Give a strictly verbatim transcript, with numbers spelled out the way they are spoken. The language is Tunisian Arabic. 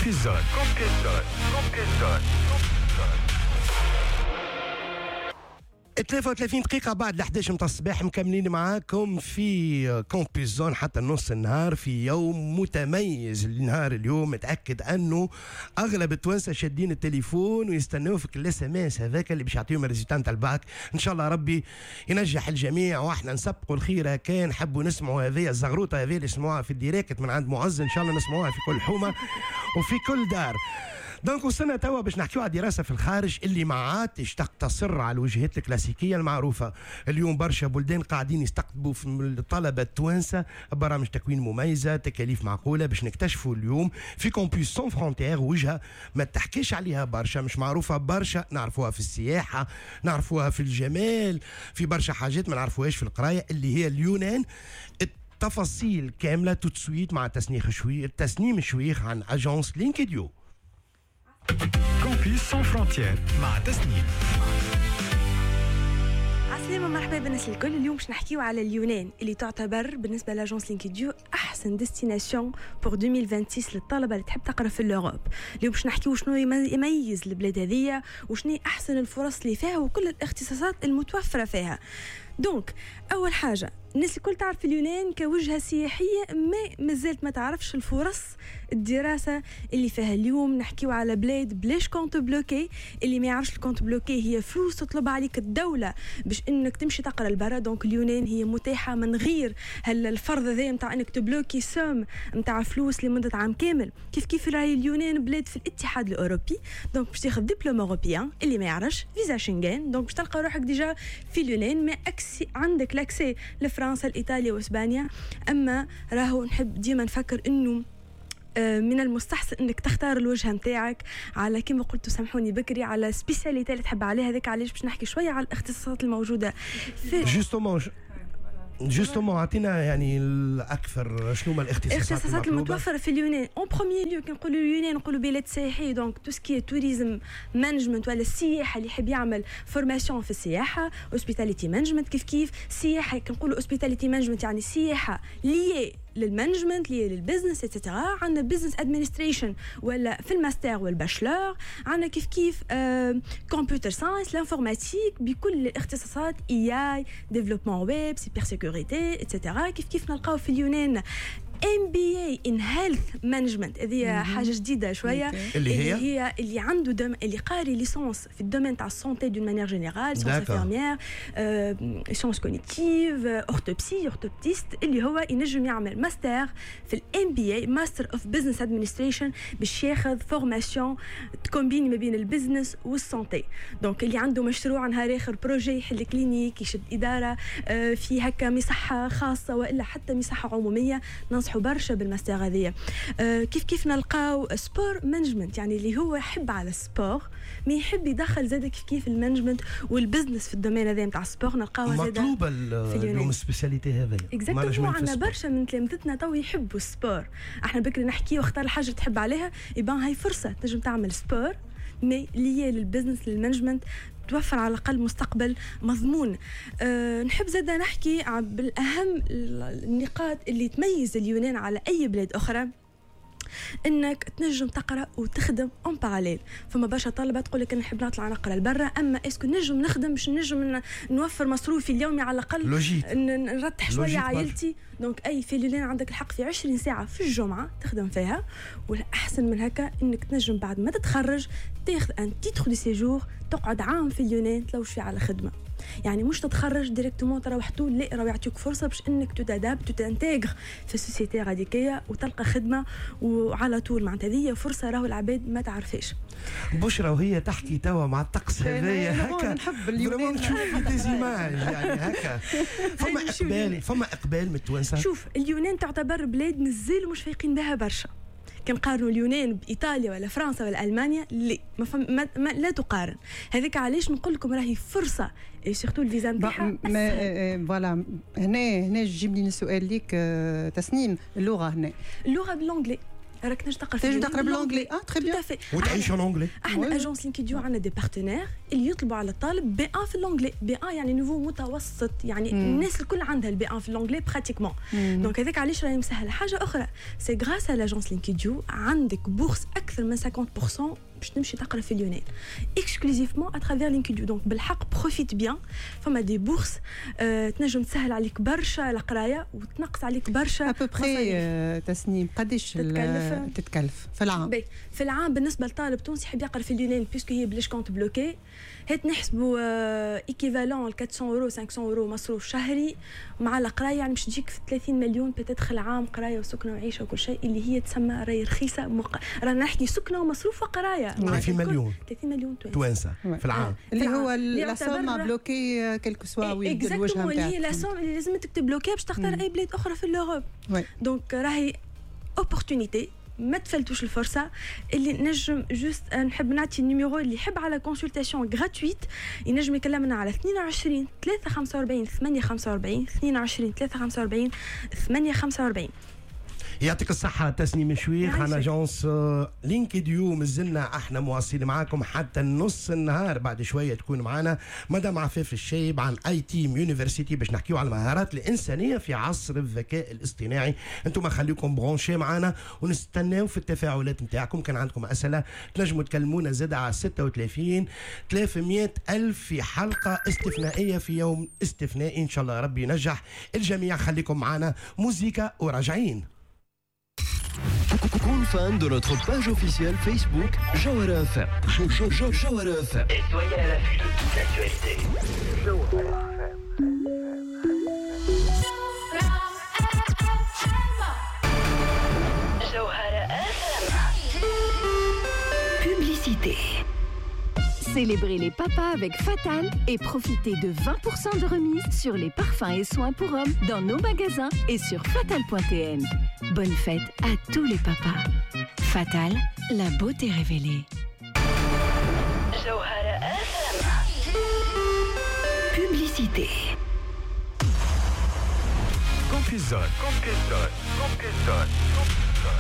Campus Zone. Campus Zone. Campus Zone. ثلاثة وثلاثين دقيقة بعد الأحد عشر متاع الصباح، مكملين معاكم في Campus Zone حتى نص النهار في يوم متميز. النهار اليوم متأكد أنه أغلب التوانسة شادين التليفون ويستناو في ال SMS هذاك اللي باش يعطيهم ال résultat نتاع الباك. إن شاء الله ربي ينجح الجميع وإحنا نسبقوا الخيرة. كان حبوا نسمعوا هذه الزغروطة هذه اللي سمعوها في ال direct من عند معز، إن شاء الله نسمعوها في كل حومة وفي كل دار. donc وصلنا توا باش نحكيو على دراسة في الخارج اللي ما عادش تقتصر على الوجهات الكلاسيكية المعروفة. اليوم برشا بلدان قاعدين يستقطبوا في الطلبة التوانسة برامج تكوين مميزة، تكاليف معقولة، باش نكتشفوا اليوم في Campus sans frontières وجهة ما تحكيش عليها برشا، مش معروفة برشا، نعرفوها في السياحة، نعرفوها في الجمال، في برشا حاجات ما نعرفوهاش في القراية، اللي هي اليونان. التفاصيل كاملة tout de suite مع تسنيم شويخ تسنيم شويخ عن agence لينكديو. Campus sans frontières مع تسنيم. عسلامة، مرحبا بالناس الكل. اليوم باش نحكيو على اليونان اللي تعتبر بالنسبة ل agence لينكديو أحسن destination pour ألفين وستة وعشرين للطلبة اللي تحب تقرا في l'Europe. اليوم باش نحكيو شنو يميز البلاد هذيا وشنو أحسن الفرص اللي فيها وكل الاختصاصات المتوفرة فيها. donc أول حاجة، الناس الكل تعرف اليونان كوجهة سياحية، ما مازالت ما تعرفش الفرص الدراسة اللي فيها. اليوم نحكيو على بلاد بلاش compte bloqué. اللي ما يعرفش ال compte bloqué هي فلوس تطلب عليك الدولة باش انك تمشي تقرا لبرا. donc اليونان هي متاحة من غير هالفرض هذا نتاع انك تبلوكي somme نتاع فلوس لمدة عام كامل. كيف كيف راهي اليونان بلاد في الاتحاد الأوروبي، donc باش تاخذ diplôme européen. اللي ما يعرفش visa Schengen، donc باش تلقى روحك déjà في اليونان، mais accès عندك l'accès لفرنسا، الإيطاليا وإسبانيا. أما راهو نحب ديما نفكر إنه من المستحسن انك تختار الوجهة نتاعك على كما قلت سامحوني بكري على spécialité اللي تحب عليها. هذاك علاش باش نحكي شوية على الاختصاصات الموجودة في justement justement عطينا يعني الاكثر شنو هما الاختصاصات الاختصاصات المتوفرة في اليونان. en premier lieu كي نقولوا اليونان نقولوا بلاد سياحي، donc tout ce qui est tourisme management ولا السياحة، اللي يحب يعمل formation في السياحة، hospitality management. كيف كيف سياحة، كي نقولوا hospitality management يعني سياحة liée لل management، liée لل business et cetera. عندنا business administration ولا في ال master وال bachelor. عندنا كيف كيف computer science، l'informatique بكل الاختصاصات، AI، développement web، cybersécurité et cetera. كيف كيف نلقاو في اليونان MBA in health management، هذه حاجة جديدة شوية، اللي هي اللي هي اللي عنده دم اللي قاري licence في ال domaine تاع ال santé d'une manière générale، sciences infirmières، sciences cognitives، orthoptie، orthoptiste، اللي هو ينجم يعمل ماستر في ال MBA، Master of Business Administration، باش ياخذ formation تكومبيني ما بين ال business وال santé. donc اللي عنده مشروع نهار اخر projet، يحل clinique، يشد ادارة في هكا مصحه خاصة والا حتى مصحه عموميه، ننصحوا برشا بالماستر هذيا. أه كيف كيف نلقاو sport management، يعني اللي هو يحب على ال sport mais يحب يدخل زاد كيف كيف ال management وال business في ال domaine هذا نتاع ال sport، نلقاوها زاد مطلوبه اليوم ال spécialité هذا. exactement، عندنا برشا من تلامذتنا تو يحبوا ال sport. احنا بكري نحكي واختار الحاجة تحب عليها، يبان هاي فرصة تنجم تعمل sport mais lié لل business لل management، توفر على الأقل مستقبل مضمون. أه نحب زادة نحكي بالأهم النقاط اللي تميز اليونان على أي بلاد أخرى، انك تنجم تقرا وتخدم en parallèle. فما برشا طلبه تقول لك نحب نطلع نقرا لبرا، اما est-ce que نجم نخدم باش نجم نوفر مصروفي اليومي على الاقل، نرتح شوية عائلتي. donc اي في اليونان عندك الحق في عشرين ساعة في الجمعة تخدم فيها، والاحسن من هكا انك تنجم بعد ما تتخرج تاخذ un titre de séjour، تقعد عام في اليونان تلوج فيه على خدمة. يعني مش تتخرج directement تروح طول، لا راه يعطيك فرصة باش انك t'adaptes، t'intègres في ال société غاديكيه وتلقى خدمة وعلى طول. معناتها هذه فرصة راهو العباد ما تعرفش. بشرى وهي تحكي توا مع الطقس هذايا هكا نحب اليونان، نشوف des images يعني هكا. فما اقبال، فما اقبال من التوانسة. شوف اليونان تعتبر بلاد مازالوا مش فايقين بها برشا. كنقارنوا اليونان بايطاليا ولا فرنسا ولا المانيا، لا ما, فم ما, ما لا تقارن. هذاك علاش نقول لكم راهي فرصة، surtout الفيزا نتاعها. voilà هنا هنا تجيبني السؤال ليك تسنيم، اللغة هنا اللغة ب l'anglais. راك تنجم تقرا تنجم تقرا ب l'anglais، اه très bien. وتعيش en anglais. احنا agence Linkedu عندنا des partenaires اللي يطلبوا على الطالب بي ان في l'anglais. بي ان يعني niveau متوسط، يعني مم. الناس الكل عندها ال بي ان في l'anglais pratiquement. donc هذاك علاش راهي مسهلة. حاجة اخرى، c'est grâce à l'agence Linkedu عندك bourse اكثر من خمسين بالمية باش تمشي تقرا في اليونان exclusivement à travers Linkedu. donc بالحق profite bien، فما des bourses أه تنجم تسهل عليك برشا القراية وتنقص عليك برشا. à peu près تسنيم، قداش تتكلف؟ تتكلف في العام؟ في العام بالنسبة لطالب تونسي يحب يقرا في اليونان، puisque هي بلاش compte bloqué، هات نحسبوا équivalent أربعمية اورو، خمسمية اورو مصروف شهري مع القرايه، يعني باش تجيك في ثلاثين مليون peut-être العام، قرايه وسكنه وعيشه وكل شيء، اللي هي تسمى راهي رخيصه. مق... رانا نحكي سكنه ومصروف وقرايه. ثلاثين مليون. ثلاثين مليون. توانسة في العام. اللي هو la somme bloquée quel que soit وين الوجهة نتاعك، اللي هي la somme اللي لازم تكتب bloquée باش تختار اي بلاد اخرى في l'Europe. donc راهي opportunité، ما تفلتوش الفرصه. اللي نجم juste نحب نعطي ال numéro، اللي يحب على consultation gratuite ينجم يكلمنا على اثنين وعشرين ثلاثة خمسة وأربعين ثمانية خمسة وأربعين، اثنين وعشرين ثلاثة خمسة وأربعين ثمانية خمسة وأربعين. يعطيك الصحة تسنيم شويخ عن agence Linkedu. مازلنا احنا مواصلين معاكم حتى نص النهار. بعد شوية تكون معنا مدام عفاف الشايب عن iTeam University باش نحكيو على المهارات الإنسانية في عصر الذكاء الاصطناعي. انتم خليكم branchés معنا ونستناو في التفاعلات نتاعكم. كان عندكم أسئلة تنجموا تكلمونا زاد على ستة وثلاثين ثلاثمية ألف في حلقة استثنائية في يوم استثنائي. إن شاء الله ربي ينجح الجميع. خليكم معنا، موزيكا وراجعين. كون fan de notre page officielle Facebook Jawhara F M. Jawhara F M. Et soyez à l'affût de toute l'actualité. Jawhara F M. Jawhara F M. Publicité. Célébrez les papas avec Fatal et profitez de vingt pour cent de remise sur les parfums et soins pour hommes dans nos magasins et sur fatal point T N. Bonne fête à tous les papas. Fatal, la beauté révélée. Jawhara F M. Publicité. Campus Zone. Campus Zone. Campus Zone. Campus Zone.